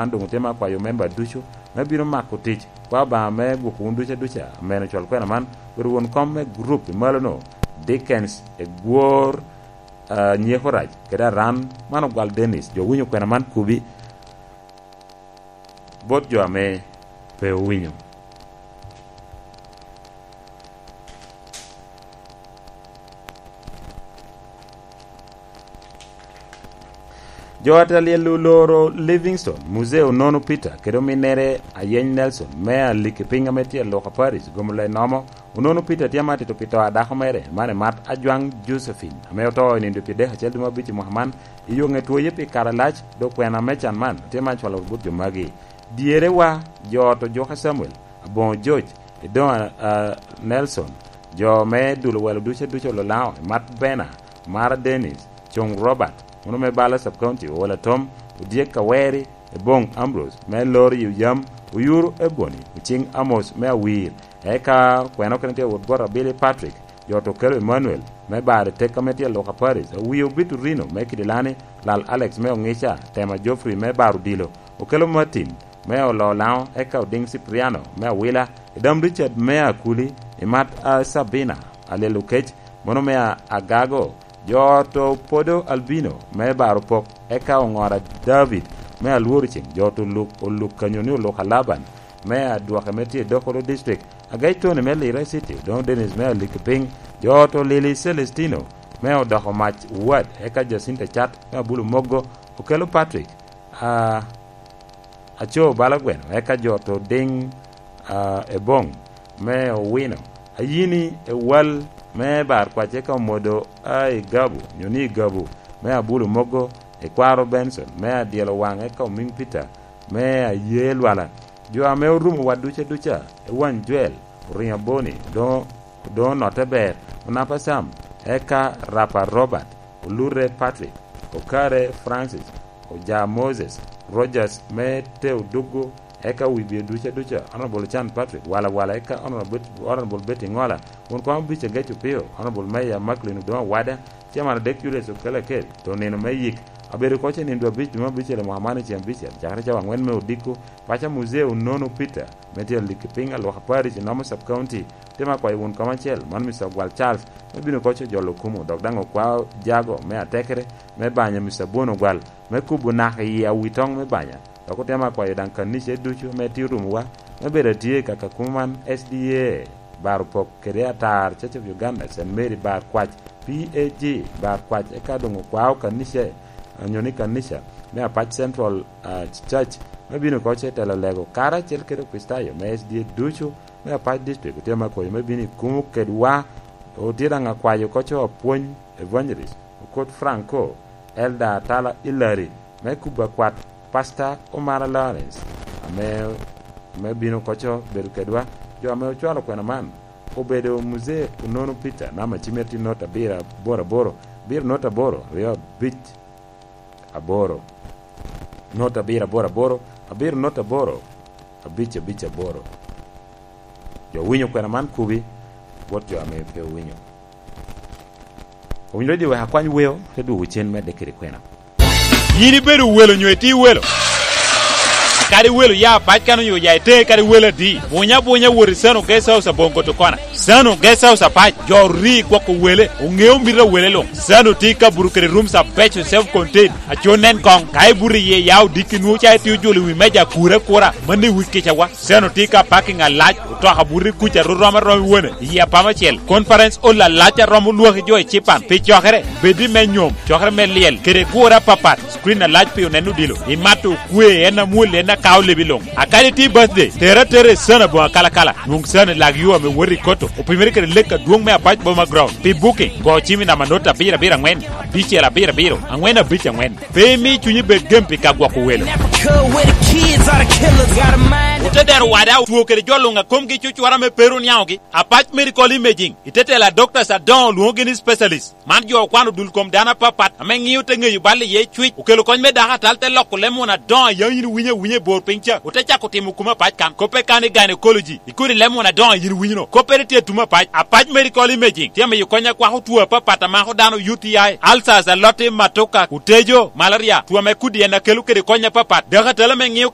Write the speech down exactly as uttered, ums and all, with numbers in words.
An doŋ otema akwayo memba ducu me bino mako tic. Kwa Obaŋa me gwoko wun ducu aduca. Amen. Ocwal kwena man, bedo won kom me gurup i malono, Dickens Egwor, ah, Nyeko Rac, kede Aran, man ogwal Dennis. Jo winyo kwena man kubi bot jo ame pe owinyo. Jo a tye alyel oloro Livingstone, Muzee Onono Peter, kede ominnere Ayeny Nelson, me aliki piny ame tye i Luka Parish, gombo le nomo. Onono Peter tye amatito pi to a dako mere, man emat Ajwaŋ Josephine, ame oto i nindo pi dek acel dwe me abic i mwaka man, i yo ŋe twoye pi kare alac, dok kwena me can man tye man cwalo bot jo magi. Dyerewa, jo ot ojuka Samuel, aboŋo George, Edoŋ, ah, Nelson, jo me dulo welo ducu aduca Ololaŋo, emat Bena, Mara Dennis, Coŋ Robert, mano me Bala Sub County, Owola Tom, Odyek Kaweri, Eboŋ Ambrose, me Lori Oyam, Oyuro Eboni, Ociŋ Amos me Awir, eka kwena okene tye wot bot Abili Patrick, jo to kelo Emmanuel, me Bari Tek ame tye Luka Paris, Owio Biturino me Kidilani, Lal Alex me Oŋica, Tema Geoffrey me Baro Odilo, Okelo Martin me Ololaŋo, eka Odiŋ Cipriano me Awila, Edam Richard me Akuli, Imat a Sabina, Alyel Okec, mono me a-, Agago, jo to Podo Albino me Baro Pok, eka Oŋora David me Alworo Ceŋ, jo to Luk, Oluk Kanyoni Oluk Alaban me Adwoke me tye i Dokolo District, Agec Tony me Lira City, Odoŋo Dennis me Aliki Piny, jo to Lili Celestino me Odoko Mac Ward, eka Jacinta Cat me Abulu Mogo, Okelo Patrick, a, Aco bala gweno, eka jo to Diŋ, a, Eboŋ me Owino, Ayini Ewal me Bar Kwac, eka Omodo a Igabu, nyo ni Igabu me Abulu Mogo, Ekwaro Benson me Adyelo Waŋ, eka Omiŋ Peter me Aye Lwala. Jo ame orumo wa duca duca, Ewany Joel, Oriŋo Aboni, Odoŋo, Odoŋo Notte Ber, Onapa Sam, eka Rapa Robert, Olure Patrick, Okare Francis, Oja Moses, Rogers me Teo Duggo, eka Wibio duca duca, Honorable Chan Patrick, Wala Wala, eka Honorable Bet-, Honorable Betty Ŋola, won kwamo Bic Agec Opio, Honorable Mayor Macklin Odoŋo Awada, Chairman Adek Julius Okelo Akel, to nino me yik, abedo koc i nindo abic dwe me abicel i mwaka man i ceng abicel, cakere cawa aŋwen me odiko, paca Muzee Onono Peter, me tye aliki piny alwaka Parish i Nomo Sub County, tye me akwayo won kom acel, man Mister Ogwal Charles, me bino koc ojolo kumo, dok daŋ okwao jago me atekere, me banya Mister Bon Ogwal, me kubo naka i awitoŋ me banya, dok otemo akwayo daŋ kanica ducu me tye orumowa, me bedo atye i kaka kumo man S D A, Bar Opok kede Atar Church of Uganda, Saint Mary Bar Kwac, P A G Bar Kwac, eka doŋ okwao kanica, onyo ni kanica, me Apac Central, ah, Church, me bino koc i telo lego, karacel kede Okricitayo me S D A ducu, me Apac District, otye me akwayo me bino i kumo kedwa, otye daŋ akwayo koc apwony, Evangelist Okot Franco, Elder Atala Hilary, me kubo akwat, Pastor Omara Lawrence, ame, ame bino koco bedo kedwa, jo ame ocwalo kwena man, obedo Muzee Onono Peter, namba cimere tye not abiro aboro aboro, abiro not aboro, aryo abic aboro, not abiro aboro aboro, abiro not aboro, abic abic aboro. Jo winyo kwena man kubi, bot jo ame pe owinyo. Owinyo redio wek akwany weo, te dwogo cen medde kede kwena. Yin ibedo welo nyo itye welo? Kadi welo ya pac kan onyo ya ite kadi welo adi. Bunya bunya wot i Sano Guest House Abongo to kona. Sano Guest House apac, jo ri gwoko wele, oŋeo mito a wele luŋ. Sano tye i kabuto kede rooms abeco self contained. Aco nen koŋ, ka ibuto iye ya odiki nwo ca itye ojolo i wi meja akura akura, mano i wi kica wa. Seno tye ka parking alac, otoka buto i kuca ru rom arom i wone, i apama acel. Conference hall alac a romo lwaki jo i Cipan. Pi cokere, bed i me nyom, cokere me lyel, kede gure apapat. Screen alac pi oneno odilo. Imato okwe, en amwol, en akao lebi luŋ. Akadi tye birthday, tere atera i Seno aboŋo akalakala. Nwoŋ Seno i lag yo ame woto i Koto. Opimere kede lek adwoŋ me Apac Boma Ground. Pi booking, go cim i namba not abiro abiro aŋwen, abicel abiro abiro, aŋwen abic aŋwen. Pe imi cunyi bed gem pi ka gwoko welo. Never could with the kids, all the killers got a mind. Ote dero wada otwo kede jo luŋ a komgi cucwara me pero niaŋogi. Apac Medical Imaging, i te tela doctors adoŋo lwoŋogi ni specialist. Man jo okwano dul kom dano apapat ame ŋio te ŋeyo bal iye cwic. Okelo kony me dako atal te loko lem won adoŋo a yaŋ yin winyo awinya i bor piny ca. Ote cako timo kuma apac kan. Koppe kan i gynecology. I kodi lem won adoŋo a yin winyo no. Koppere tye tumo apac. Apac Medical Imaging tye miyo kony akwako two apapat a mako dano U T I, ulcers, aloti, matoka, otejo, malaria, two ame kodi en akelo kede kony apapat. Dako atal ame ŋio